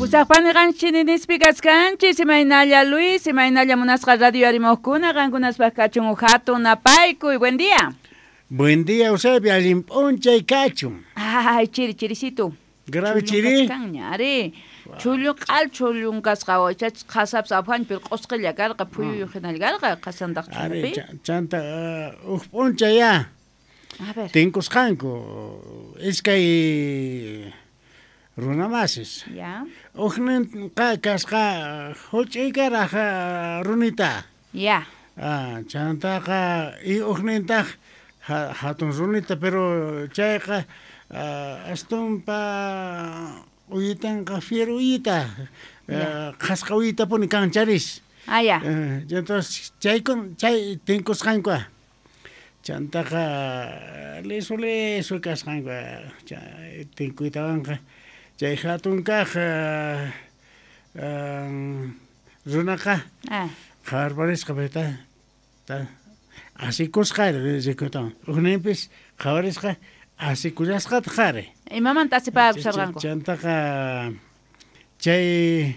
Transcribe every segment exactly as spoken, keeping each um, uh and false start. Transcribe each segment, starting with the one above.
Pusaqpani qanchis nispi kaskanchis, imaynalla Luis, imaynalla munasqa radio arimojkuna, qankunaspaq kachun uj hatun napaykuy. Buen día. Buen día, Eusebio, allin p'unchay kachun. Ay, chiri, chirisito. Grave chiri. Ari, chullu q'al chullun kasqa, chach qhasapas aphanpi pero q'usqilla karqa, phuyuyu hinalla karqa, qhasantaq chulupi. Ari, chanta uj p'unchay ya. A ver. Tinkusqanku iskay runamasis. Ya. Ujninqa kasqa huch'uykaraq runita. Ya. Ah, chantaqa y ujnintaq hatun runita, pero chayqa astumpa uyitanqa fiero uyita, qhasqa uyitapuni kancharis. Ah, ya. Entonces chaykun chay tinkusqanku. Chantaqa lisu lisu kasqanku tinkuytawanqa chay hatun kaq runaqa qhawarparisqa payta ta asikusqa rikuytawan ujninpis qhawarisqa asikullasqataq ari. Imamanta asipakusharqanku? Chantaqa chay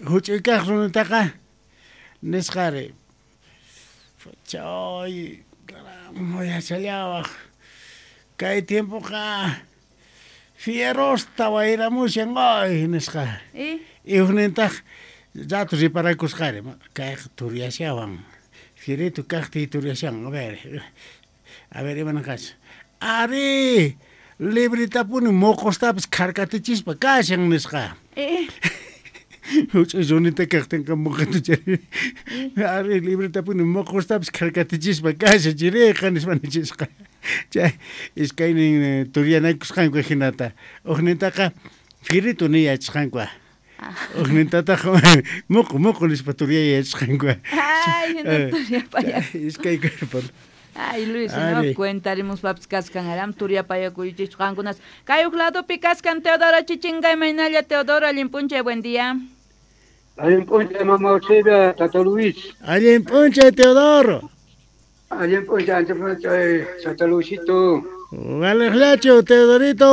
huch'uy kaq runataqa nisqa ari chay caramba yachallawaq kay tiempoqa fierosta wayramushan ay nisqa. Y ujnintaq rato riparakusqa ari kayqa turyashawan fierito kaqtiy turyashan. A ver, a ver imanaqacha ari libretapuni moqostapis kharkatichispa kashan nisqa. Huch'uy runita kaqtinqa moqotu chay ari libretapuni moqostapis kharkatichispa kashan chiriqa nispa nichisqa. Chay iskaynin turyanakusqanku hinata ujnintaqa fierito ni yachasqanku. Ujnintataq moqo moqo nispa turyay yachasqanku. Ay, hina turyapaya. Iskay karpan. Ay, Luis, no cuentarimus paps kaskan aram turyapayakuychis qankunas. Kay uj ladopi kaskan Teodoro Chichinga, imaynalla Teodoro, allin p'unchay, buen día. Allin p'unchay, mama Eusebia, tata Luis. Allin p'unchay, Teodoro. Allin p'unchay, ancha p'unchay, tata Luisito. Waleqllachu, Teodorito.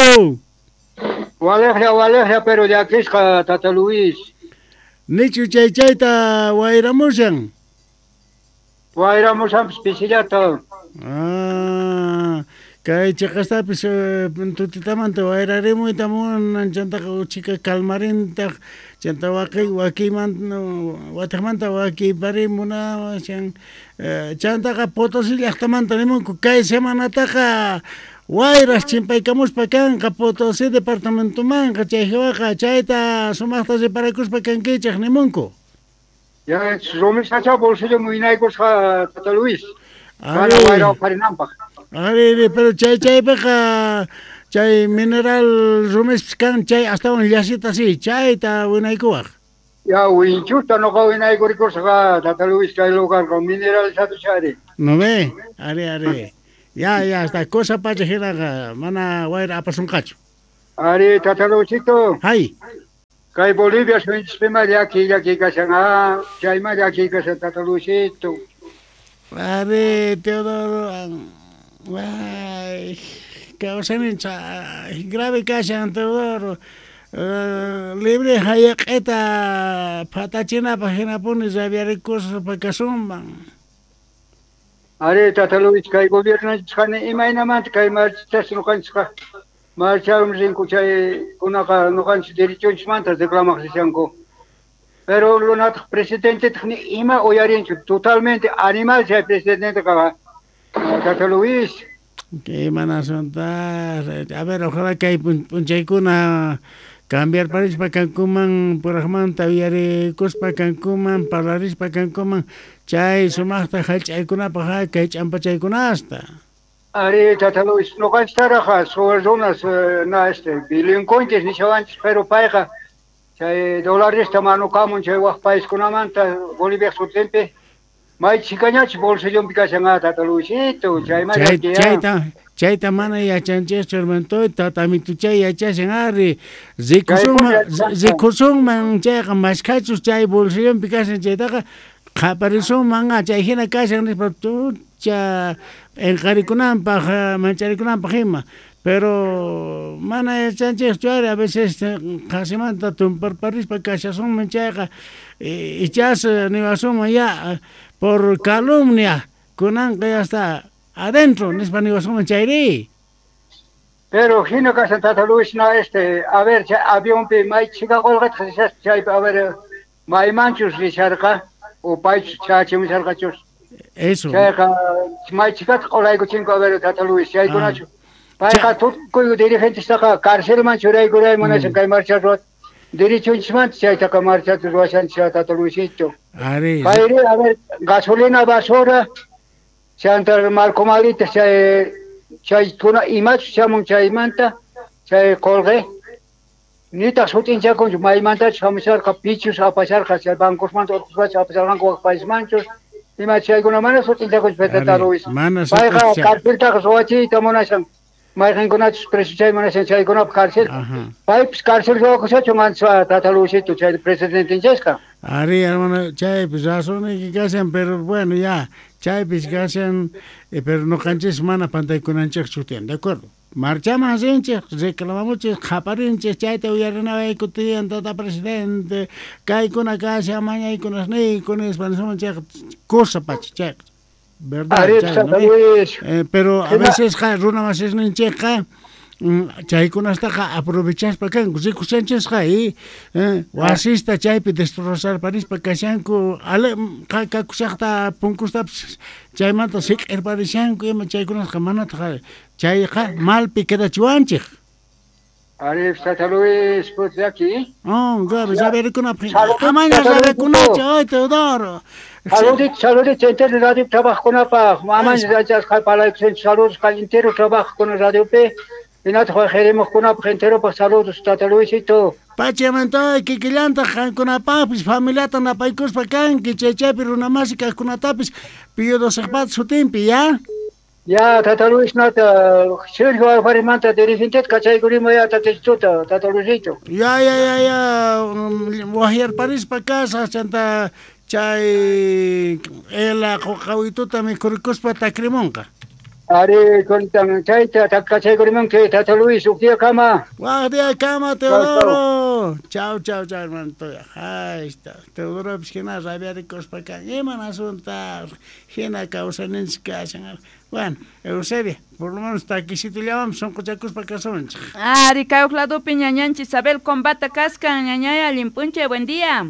Waleqlla, waleqlla, pero llakisqa, tata Luis. Nichu chay chayta wayramushan. Wayramushanpis pisillata. Ah, kay chiqastapis tutitamanta wayrarimuyta munan chantaqa uchika kalmarintaq chanta waqi wakimanta watiqmanta wakiparimuna chantaqa Potosí llaqtamanta nimunku kay semanataqa wayras chimpaykamuspa kanqa Potosí departamentomanqa chay hiwaqa chayta sumaqta riparakuspa kankichaq nimunku. Ya, rumisacha bolsillo muynaykusqa tata Luis. Mana wayra uqharinanpaq. Ari, pero chay chaypiqa chay mineral rumispis kan chay astawan llasita si chayta winaykuwaq. Ya, winchuta noqa winaykurikursqa tata Luis kay lugarqa mineralizado chari. No ve, ari, ari. Ya, ya, hasta cosa pacha hinaqa mana wayra apasunqachu. Ari, tata Luisito. Hay. Kay Bolivia suyunchispima llaki llaki kashan, ah, chayma llaki kashan tata Luisito. Ari, Teodoro, ay, kawsayninchik grave kashan Teodoro. Uh, libre hayaq'ita phatachinapaq hinapuni rabiarikuspa kasunman. Ari, tata Luis, kay gobiernonchisqani imaynamanta kay marchas ñuqanchikqa marcharum rinku chay kunaqa ñuqanchik derechonchismanta reclamaq rishanku. Pero lunataq presidentetaq ni ima uyarinchu, totalmente animal chay presidenteqa, tata Luis. Qué mana asunta. A ver, ojalá kay p'unchaykuna cambiar parispa kankuman puraqmanta uyarikuspa kankuman parlarispa kankuman chay sumaqta hallch'aykunapaq kay ch'ampachaykunasta. Ari, tata Luis, ñuqanchiktaraqqa suwa runas na este delincuentes nishawanchis, pero payqa chay dolaresta manukamun chay waq paiskunamanta Bolivia sutinpi may chhikañachu bolsillonpi kashan tata Luisito, chayma chayta chayta mana yachanchischu hermanito, tatamituchay yachashan ari rikusunman rikusunman chayqa mashkhachus chay bolsillonpi kashan chaytaqa qhaparisunman chay hina kashan nispa tucha p'inqarikunanpaq mancharikunanpaq ima. Pero mana yachanchikchu ari a veces qasimanta tumparparispa kashasunman chayqa ichas niwasunman ya por calumnia kunanqa ya está adentro nispa niwasunman chayri. Pero hina kashan Tata Luis na este a ver chay avionpi may chika qolqata rishaspa chaypi a ver maymanchus risharqa o paychus chachimusharqachus. Eso. Chayqa may chikata qolaykuchinku a ver Tata Luis chaykunachu. Payqa tukuy dirigentestaqa carcelman churaykuray munashan kay marcha ruwat derechonchismanta chaytaqa marchata ruwashanchis Tata Luisito. Ari. Payri a ver gasolina basura chanta marcomalita chay chaykuna imachus chamun chaymanta chay qolqe nitaq sutinchakunchu maymantachus hamusharqa pichus apasharqa chay bancosmanta urquspachu apasharqanku wak paismanchus ima chaykuna mana sutinchakunchu Tata Luis. Payqa carceltaqa ruwachiyta munashan mayqinkunachus preso chay munashan chaykunapaq cárcel. Paypis cárcel ruwakushachu mancha Tata Luisito chay presidentinchasqa. Ari hermano chaypis razonayki kashan pero bueno ya chaypis kashan eh, pero noqanchis mana pantaykunanchikchu tiyan de acuerdo. Marchaman rinchik reclamamuchis qhaparinchis chayta uyarinawayku tiyan tata presidente kaykuna kashan mañaykunasniyku nispa nisunman chayqa cosa pacha chayqa verdad Ari, chay, ¿no? Eh, pero a veces runa masisninchikqa chaykunastaqa aprovechaspa kanku rikushanchisqa y eh, wasista chaypi destrozarparispa kashanku ale kakushaqta punkustapis chaymanta siq'irparishanku ima chaykunasqa manataq chayqa malpi quedachiwanchik. Ari, Tata Luis, pues de aquí. Oh, gabi, saberkunapaq amaña rabekunachu ay Teodoro. Saludito, saludito, entero radio trabajokunapaq, amaña yachasqa palaykusinchik saludos entero trabajo con radio P. Hinataq queremos entero saludos Tata Luisito. Pachamanta kikillantaq qankunapaqpis familiata napaykuspa kanki chay chaypi runamasi kaqkunatapis Pío Doceqpata sutinpi ya. Ya Tata Luis nata Sergio Alfarimanta dirigente kachaykurima ya Tata Tata Luisito. Ya ya ya ya wahyarparispa kasaq chanta chay ela qoqawituta mikhurikuspa takrimunqa. Ari kontan chayta takachaykurinki Tata Luis uq día kama. Waq día kama Teodoro. Chau chau chau hermano. Ahí está. Teodoro pis hina rabiarikuspa kan iman asunta hina kawsaninchik kashan. Bueno, Eusebia, por lo menos takisitullawanpis sunquchakuspa kasunchik. Ari kay uq ladopi ñañanchik Isabel Combata kaskan ñañay allin p'unchay buen día.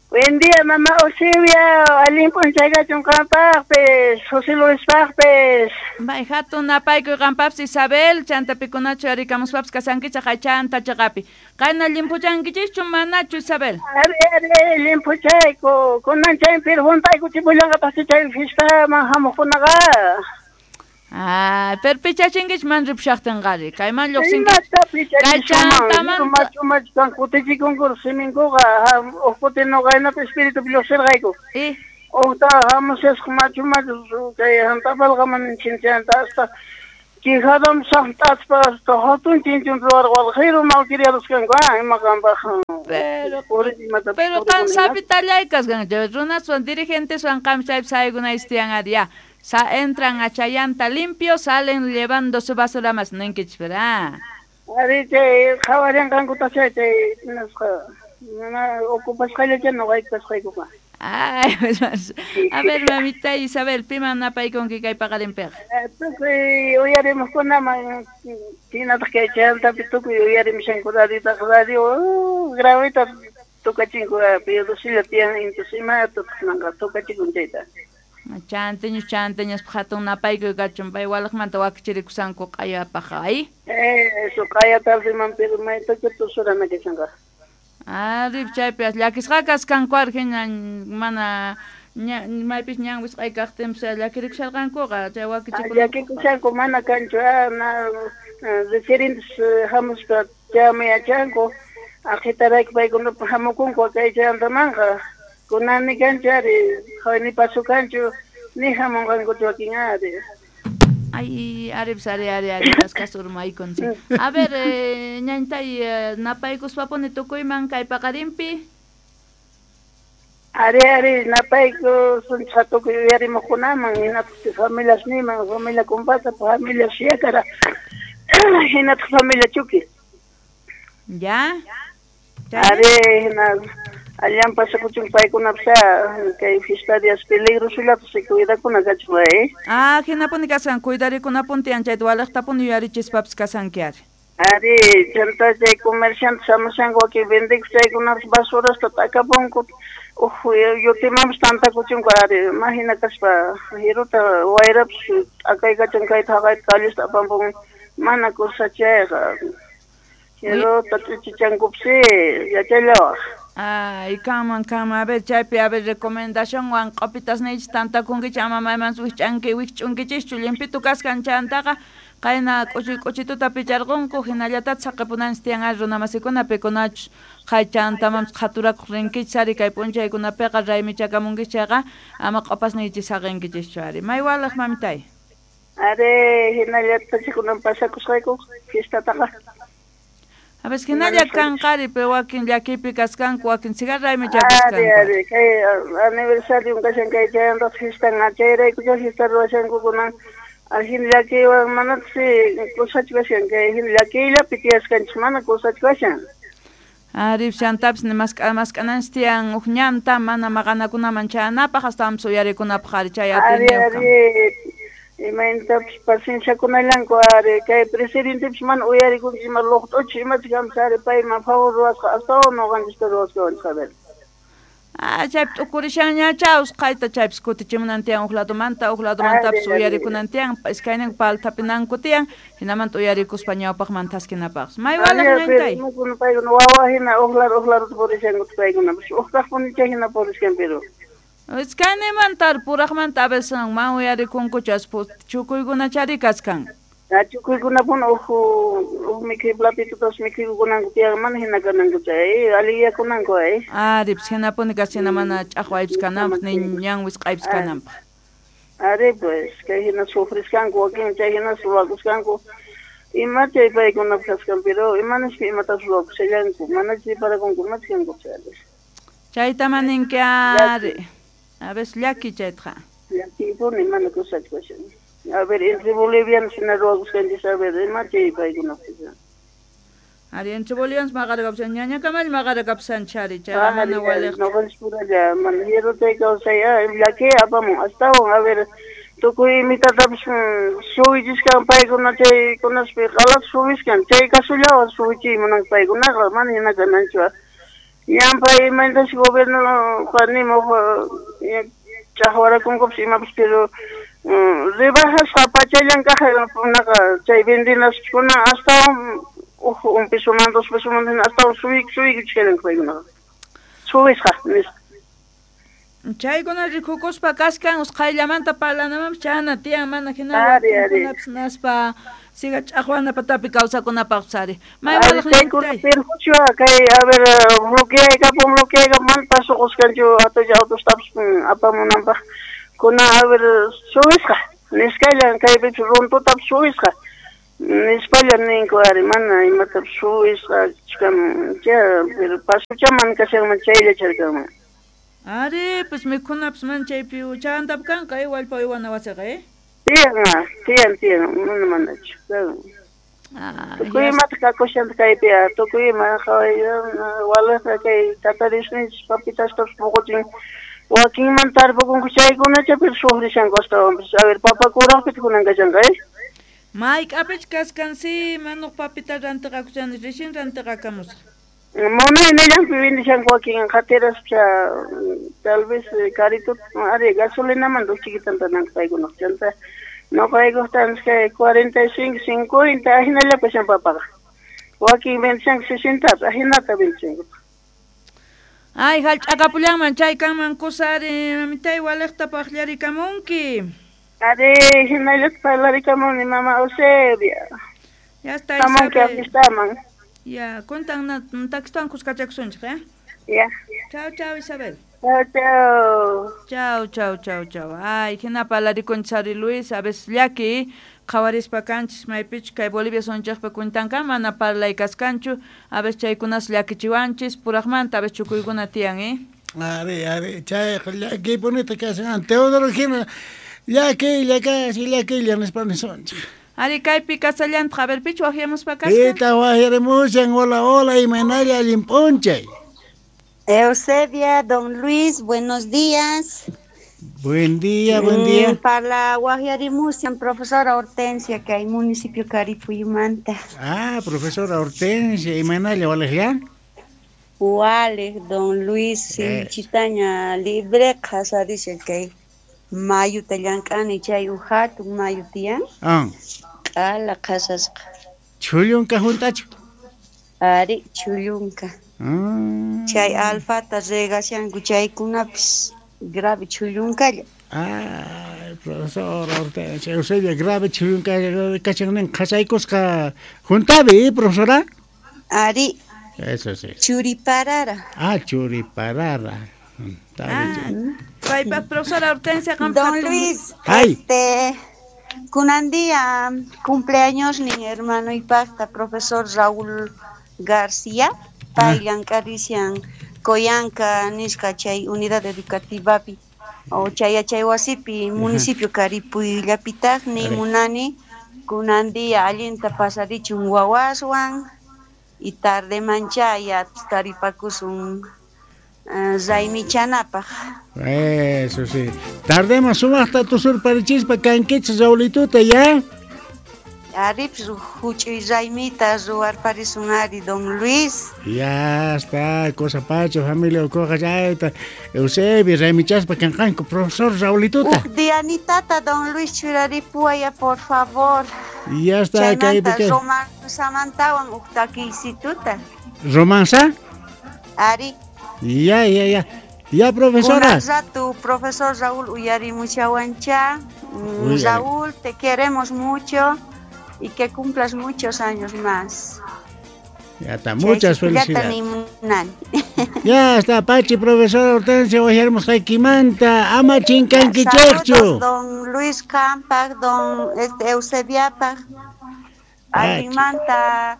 Buen día, mamá Eusebia, allin p'unchay kachun qampaqpis, José Luispaqpis. May hatun napaykuy qampapis Isabel, chantapikunachu arikamuspapis kasankichaq aychanta chaqapi. Qayna llimpuchankichischu manachu Isabel? Ari, ari, limpuchayku, kunan chaypi juntaykuchipullanqapaqchu chay fiestaman hamuqkunaqa. Ah, pero pichachinkichik man ripushaqtinqari, kayman lluqsinkichik. Kay chantaman machu machu kan kutichikunku siminkuqa, uq kuti nuqaynapi espiritupi lluqsirqayku. Eh. Uqta hamushasqa machu machu kay hantapalqaman chinchanta hasta quijadam saqt'aspa hasta hatun chinchun ruwarqan qiru malcriados kanku, ah, ima qanpaq. Pero pero qan sapitallay kasqanki, runaswan dirigenteswan qam chaypi saykunaysi tiyan ari ya. Sa entran a Chayanta limpio, salen llevando su basura más ninkichis, ¿verdad? Ari chay qhawarinqankuta chay chay nasqa mana ocupasqallacha nuqayku kasqaykuqa. Ay, a ver, mamita Isabel, piman napaykunki kay paqarinpiqa. Tukuy uyarimuqkunaman hinataq kay Chayantapi tukuy uyarimushanku radiotaqa radio gravita tukachinku Pío Docella tiyan intus imata kunanqa tukachikun chayta. Chanteños, chanteños, hatun napaykuy kachun pay walaqmanta wakichirikusanku q'ayapaq ay. Eh, eso q'aya tardeman pero maytachu tusurana kashanqa. Ari chaypi llakisqa kaskanku arjina mana maypis ñan wisq'ay kaqtinpis llakirikusharqankuqa chay wakichikuna. Llakikushanku mana kanchu na referentes hamuspa chaymi yachanku aqhitarayku paykunapa hamukunku kay chayantamanqa. Kunan ni kanchu ari, ni paso kanchu, ni hamunqankuchu wakin ari. Ay, ari, ari, ari, ari, kaskas urmaykun. A ver, eh, ñañtay, eh, napaykuspapuni tukuyman kay paqarinpi. Ari, ari, napayku sunchqa tukuy uyarimuqkunaman, hinapis familiasniman, familia kumpata, familia siyakara. Hinataq familia Chuki. Ya. Ari hina allan pasakuchun paykunapas kay fiesta días peligrosullapas cuidakuna kachun eh. Ah, hinapuni kasan cuidarikunapun tiyan chayta waliqtapuni yuyarichispapas kasanki ari. Ari chanta chay comerciantes hamushanku wakin vendikuq chaykunapas basurasta t'akapunku uj yutimanpas tantakuchunku ari mahina kaspa hiruta wayrapas t'akaykachan kayta haqayta callesta apampun mana kusa chayqa hiruta ch'ichichankupsi yachallawaq. Ay, kanman kanman a ver chaypi a ver recomendación wan q'opitas niychis tantakunkichis ama maymansi wikch'anki wikch'unkichischu llimpitu kaskan chantaqa qayna k'uchi k'uchituta picharqunku hinallataq saqipunanchis tiyan ari runamasikuna pikunachus qhay chantamanpis qhaturakuq rinkichis ari kay p'unchaykunapiqa raymichakamunkichis chayqa ama q'opas niychis saqinkichishchu ari may waliq mamitay. Ari hinallataq chikunan pasakusqayku fiestataqa. A veces hinalla kanqari pero wakin llakipi kaskanku wakin cigarra raymichakuskanku. Ari ari kay aniversario kashan kay chayantaq fiestan chayraykucha fiesta ruwashanku kunan hin llakiywan manatsi kusachu kashan kay hin llakiyllapi tiyaskanchis mana kusachu kashan. Ari chantapis mask'a mask'ananchis tiyan uj ñanta mana maqanakunaman chayanapaq astawanpis uyarikunapaq ari chay atiyniyuq kan. Imaynatapis pacienciakunallanku ari kay presidentepis mana uyarikunchis ima luqt'uchis imachus kanpis ari payman favor ruwasqa astawan nuqanchista ruwasqawanchis a ver. Ah, chaypi t'ukurishanñacha usqhayta chaypis kutichimunan tiyan uj ladomanta uj ladomantapis uyarikunan tiyan iskayninku paltapinanku tiyan hinamanta uyarikuspa ñawpaqman thaskinapaqpas. May waliq ñañtay. Paykuna wawa hina uj lado uj ladota purishanku paykunapas uj kaqpunicha hina purishan pero. Iskaynimanta puraqmanta a veces man uyarikunkuchu chukuykunachari kaskan. Chukuykunapuni uj uj mikhuy platitutas mikhuykunanku tiyan mana hina kananku chay alliyakunanku eh. Ari pues hinapuni kasina mana ch'aqwaypis kananpaq ni ñan wisq'aypis kananpaq. Ari pues kay hina sufriskanku wakin chay hina ruwakuskanku ima chay paykunapaq kaskan pero imanaspa imatapas ruwakushallanku mana chay parakunku imachus kanku chay. Chayta maninki ari. A veces llaki chaytaqa. Llakipuni mana kusachu kashan. A ver, entre bolivianos hina ruwakusqanchis a ver, ima chay paykunapaq. Ari, entre bolivianos maqarakapusan, ñañakamalla maqarakapusanchis ari, chayqa mana waliqchu. Nuqanchis puralla, mana hierro chay kawsay, llaki apamun, astawan, a ver, tukuy imitatapis suwichiskan paykuna chaykunaspi q'alata suwiskan, chay kasullawan suwichiy munanku paykunaqa, mana hina kananchu. Ñanpa imaynatachus gobierno nimuq ch'aqwarakunkupas imapas pero rebajasqa pachallan kaqkunaqa chay vendinaskuna astawan uj un pesoman dos pesoman hina astawan suwik suwikuchkallanku paykunaqa suwisqa nispa. Chaykuna rikukuspa kaskan usqhayllamanta parlanamanpis chayna tiyan mana hina wakinkunapis naspa siga ch'aqwana patapi kawsakunapaqpis ari. May waliq ñañtay. Perjuicio kay a ver bloqueaykapun bloqueaykapun mana pasuquskanchu atucha autostapis apamunanpaq kuna a ver suwisqa nisqallan kaypipis runtutapis suwisqa nispalla ninku ari mana imatapis suwisqa chkan cha pero pasucha mana kashanman chaylla charkanman. Ari, pues mikhunapis mana chaypi chayantapis kanqa eh wallpa uywana wasiqa eh. Tiyan, tiyan, tiyan, mana manachu. Tukuy imata kakushanta kaypi, tukuy ima waliqqa kay tata Diosninchis papitastapis puquchin wakinman tarpukunku chaykunacha pero sufrishanku astawanpis. A ver, papa kuraqpita kunan kashanqa eh. Mayk'apich kaskan si manuq papita rantiqakushani rixin rantiqakamusaq. Munaynillanpi vendishanku wakin qhatiraspa tal vez carito ari gasolinamanta uj chiquitan tananku paykunaq chanta nuqaykuqtanchis kay cuarenta y cinco, cincuenta ahinalla kashan papaqa wakin vendishanku sesentapis ahinata vendishanku. Ay, hallch'akapullanman chay kanman kusa ari mamitay waliqta paqllarikamunki. Ari hinallata parlarikamunni mama Eusebia. Ya está Hamunki afiestaman. Ya, cuentan taxistawan kuskachakusunchik, eh? Ya. Chao, chao, Isabel. Chao, chao. Chao, chao, chao, chao. Ay, hina parlarikunchis ari Luis, a veces llaki qhawarispa kanchis maypichu kay Bolivia sunchaqpa cuentanka mana parlay kaskanchu, a veces chaykunas llakichiwanchis puraqmanta a veces chukuykuna tiyan, eh? Ari, ari, chayqa llakipunita kashan Teodoro hina llakilla kasi llakilla nispa nisunchik. Ari kaypi kasallantaq, a ver pichu waqyamuspa kasqa? Pita waqyarimushan, hola hola, imaynalla allin p'unchay. Eusebia, don Luis, buenos días. Buen día, buen día. Mm, para waqyarimushan profesora Hortensia, que hay municipio Caripuyumanta. Ah, profesora Hortensia, imaynalla walejya? Walej, don Luis, Eh. Chitaña libre qhasarishan kay mayuta llank'ani chay uj hatun mayu tiyan. Ah. Q'ala qhasasqa. Chhullunka juntachu? Ari, chhullunka. Ah. Chay alfata regashanku chaykunapis grave chhullunkalla. Ay, profesora Hortensia, Eusebia, grave chhullunka kachan qhasaykusqa juntabi, profesora? Ari. Eso sí. Churiparara. Ah, churiparara. Ah, paypa profesora Hortensia Don hatun- Luis, Ay. este kunan día cumpleaños ni hermano y pacta profesor Raúl García, pay llank'arishan Coyanca nisqa chay unidad educativapi o chay yachay wasipi municipio Caripuyllapitaqni Ari. munani kunan día allinta pasarichun wawaswan y tarde manchaya taripakusun eh, raymichanapaq. Eso sí. Tardemos sumaqta tusurparichispa kankichis Raulituta ya. Aripis huch'uy raymita ruwarparisun ari don Luis. Ya está, cosa pacho, familia ucoja chayta. Eusebio, raymichaspa kanqanku, profesor Raulituta. Uj dianitata don Luis churaripuwaya por favor. Ya está, kaypi Chaymanta kay. romanzamantawan uj takiysituta. ¿Romanza? Ari. Ya, ya, ya. Ya, profesora. Kunan rato, profesor Raúl uyarimushawancha. Mm, Uyari. Raúl, te queremos mucho y que cumplas muchos años más. Ya está, muchas Chayllata felicidades. nimunani. Ya está, Pachi, profesora Hortensia, waqyarimus haykimanta, ama chinkankichikchu. Saludos, don Luis Campa, don este, Eusebiapaj. Allinmanta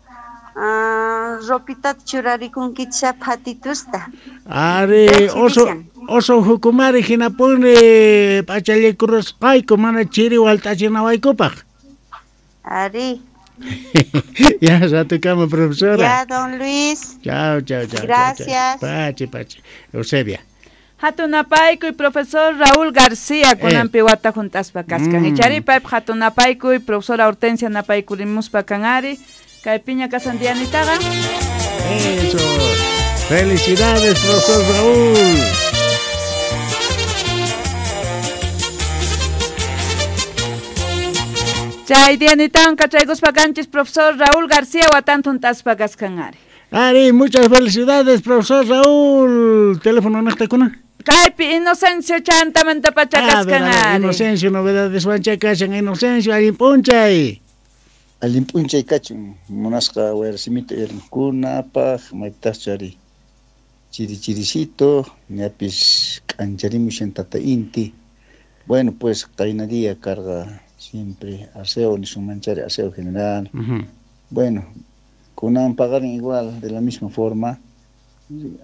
ah, ropitata churarikunkichá phatitusta. Ari, oso, oso hukumari hinapuni p'achallikurusqayku mana chiri walt'achinawaykupaq. Ari. Ya, ratukama, profesora. Ya, don Luis. Chao, chao, chao. Gracias. Chao, chao. Pachi, pachi. Eusebia. Hatunapaykuy profesor Raúl García kunanpi wata juntaspa kaskan. Mm. Ichari paypaq hatunapaykuy profesora Hortensia napaykurimuspa kan ari. Kay piña kasan dianitaqa. Eso. Felicidades, profesor Raúl. Chay dianitawan kachaykuspa kanchis profesor Raúl García watan juntaspa kaskan ari. Ari, muchas felicidades, profesor Raúl. Teléfono naqtakuna. Kaypi Inocencio chantamanta pacha A ver, kaskan a ver, ari. Inocencio, novedades wanchakashan, Inocencio, allin p'unchay. Allin p'unchay kachun munasqa wayrasimita uyariqkunapaq maypitaschu ari chiri chirisito ñapis k'ancharimushan tata inti. Bueno, pues qayna día karqa siempre aseo nisunmanchari aseo general. Ujú. Bueno, kunan paqarin igual de la misma forma.